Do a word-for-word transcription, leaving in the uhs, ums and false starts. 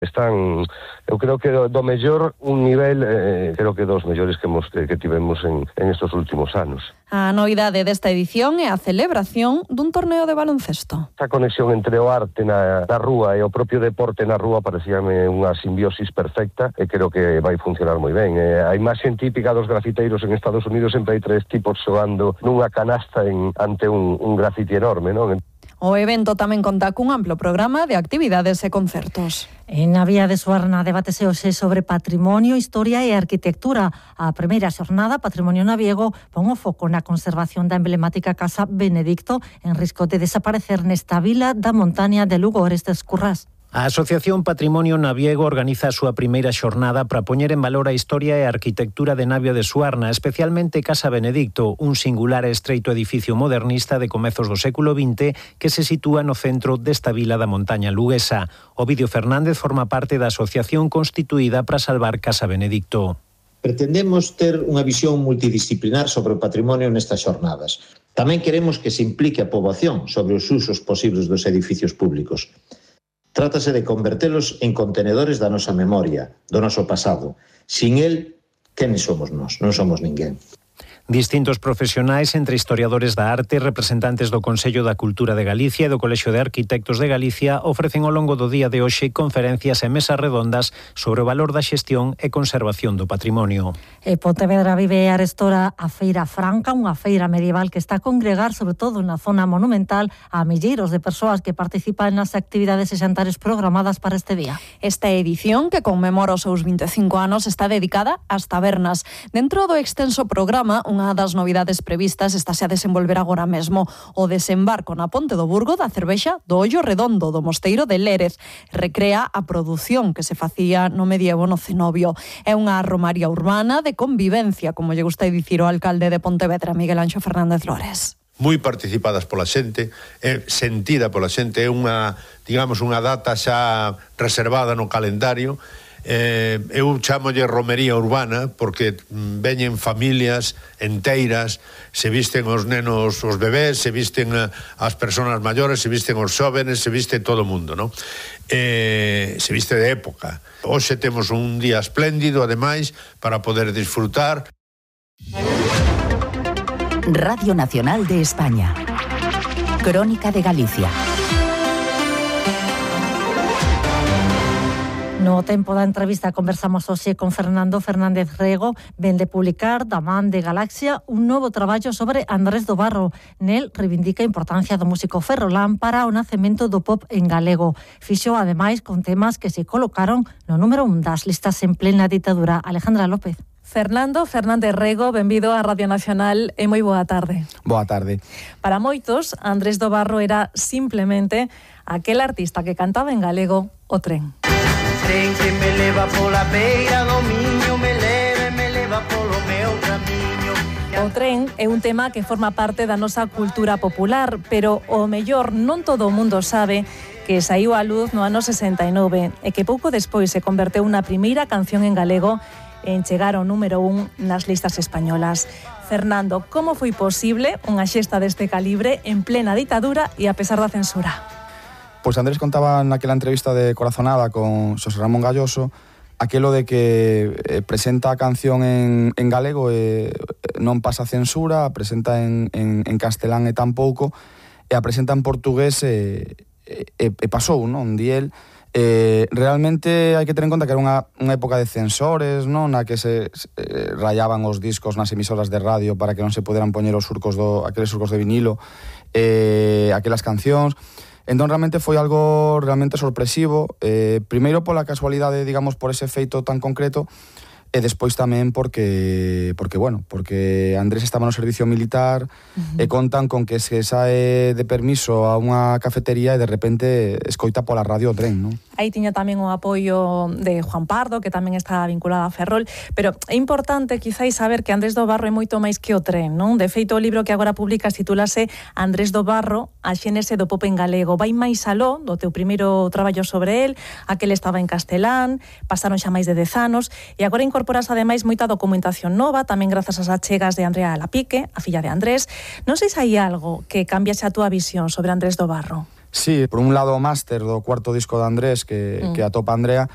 Están, eu creo que do, do mellor un nivel, eh, creo que dos mellores que, hemos, que, que tivemos en, en estos últimos anos. A novidade desta edición é a celebración dun torneo de baloncesto. Esta conexión entre o arte na, na rúa e o propio deporte na rúa parecíame unha simbiosis perfecta e creo que vai funcionar moi ben. Eh, a imaxe típica dos grafiteiros en Estados Unidos sempre hai tres tipos xogando nunha canasta en, ante un, un grafiti enorme, non? O evento tamén conta cun amplo programa de actividades e concertos. En a Vía de Suarna debatese hoxe sobre patrimonio, historia e arquitectura. A primeira xornada, Patrimonio Naviego, pon o foco na conservación da emblemática Casa Benedicto en risco de desaparecer nesta vila da montaña de Lugo Orestes Currás. A Asociación Patrimonio Naviego organiza a súa primeira xornada para poñer en valor a historia e a arquitectura de Navia de Suarna, especialmente Casa Benedicto, un singular e estreito edificio modernista de comezos do século vinte que se sitúa no centro desta vila da montaña luguesa. Ovidio Fernández forma parte da asociación constituída para salvar Casa Benedicto. Pretendemos ter unha visión multidisciplinar sobre o patrimonio nestas xornadas. Tamén queremos que se implique a poboación sobre os usos posibles dos edificios públicos. Trátase de convertelos en contenedores da nosa memoria, do noso pasado. Sin el, quenes somos nós? Non somos ninguén. Distintos profesionais, entre historiadores da arte, representantes do Consello da Cultura de Galicia e do Colexio de Arquitectos de Galicia, ofrecen ao longo do día de hoxe conferencias e mesas redondas sobre o valor da xestión e conservación do patrimonio. E Pontevedra vive arestora a Feira Franca, unha feira medieval que está a congregar, sobre todo na zona monumental, a milleiros de persoas que participan nas actividades e xantares programadas para este día. Esta edición, que conmemora os seus vinte e cinco anos, está dedicada ás tabernas. Dentro do extenso programa, unha Unha das novidades previstas estáse a desenvolver agora mesmo, o desembarco na Ponte do Burgo da cervexa do Ollo Redondo do Mosteiro de Lérez. Recrea a produción que se facía no medievo no cenobio. É unha romaría urbana de convivencia, como lle gusta dicir o alcalde de Pontevedra, Miguel Anxo Fernández Lores. Moi participadas pola xente, é sentida pola xente, é unha, digamos, unha data xa reservada no calendario. Eh, eu chamolle romería urbana porque veñen familias enteiras, se visten os nenos, os bebés, se visten as persoas maiores, se visten os xóvenes, se viste todo o mundo, non? Eh, se viste de época. Hoxe temos un día espléndido, ademais, para poder disfrutar. Radio Nacional de España. Crónica de Galicia. No tempo da entrevista conversamos hoxe con Fernando Fernández Rego, ven de publicar da man de Galaxia un novo traballo sobre Andrés do Barro. Nel reivindica a importancia do músico ferrolán para o nacemento do pop en galego. Fixo ademais con temas que se colocaron no número un das listas en plena ditadura. Alejandra López. Fernando Fernández Rego, benvido a Radio Nacional e moi boa tarde. Boa tarde. Para moitos, Andrés do Barro era simplemente aquel artista que cantaba en galego o tren. Tren que me leva pola beira do Miño, me leva e me leva polo meu camiño. O tren é un tema que forma parte da nosa cultura popular, pero o mellor non todo o mundo sabe que saiu á luz no ano sesenta e nove e que pouco despois se converteu na primeira canción en galego en chegar ao número un nas listas españolas. Fernando, como foi posible unha xesta deste calibre en plena ditadura e a pesar da censura? Pois Andrés contaba naquela entrevista de Corazonada con Xosé Ramón Galloso aquelo de que eh, presenta a canción en, en galego e eh, non pasa censura, a presenta en, en, en castelán e tampouco, e a presenta en portugués e, e, e pasou, non? Di el. Eh, realmente hai que ter en conta que era unha, unha época de censores, non? Na que se, se eh, rayaban os discos nas emisoras de radio para que non se poderan poñer os surcos do, aqueles surcos de vinilo, eh, aquelas cancións. Entón realmente foi algo realmente sorpresivo, eh, primeiro pola casualidade, digamos, por ese feito tan concreto, e despois tamén porque, porque bueno, porque Andrés estaba no servicio militar, uh-huh. e contan con que se sae de permiso a unha cafetería e de repente escoita pola radio o tren, non? Aí tiña tamén o apoio de Juan Pardo, que tamén está vinculado a Ferrol, pero é importante quizáis saber que Andrés do Barro é moito máis que o tren, non? De feito, o libro que agora publicas titúlase Andrés do Barro, a xénese do pop en galego. Vai máis aló do teu primeiro traballo sobre el, aquel estaba en castelán, pasaron xa máis de dez anos, e agora incorporas ademais moita documentación nova, tamén grazas ás achegas de Andrea Lapique, a filla de Andrés. Non sei se hai algo que cambiase a túa visión sobre Andrés do Barro. Sí, por un lado o máster do cuarto disco de Andrés que, mm. que atopa Andrea,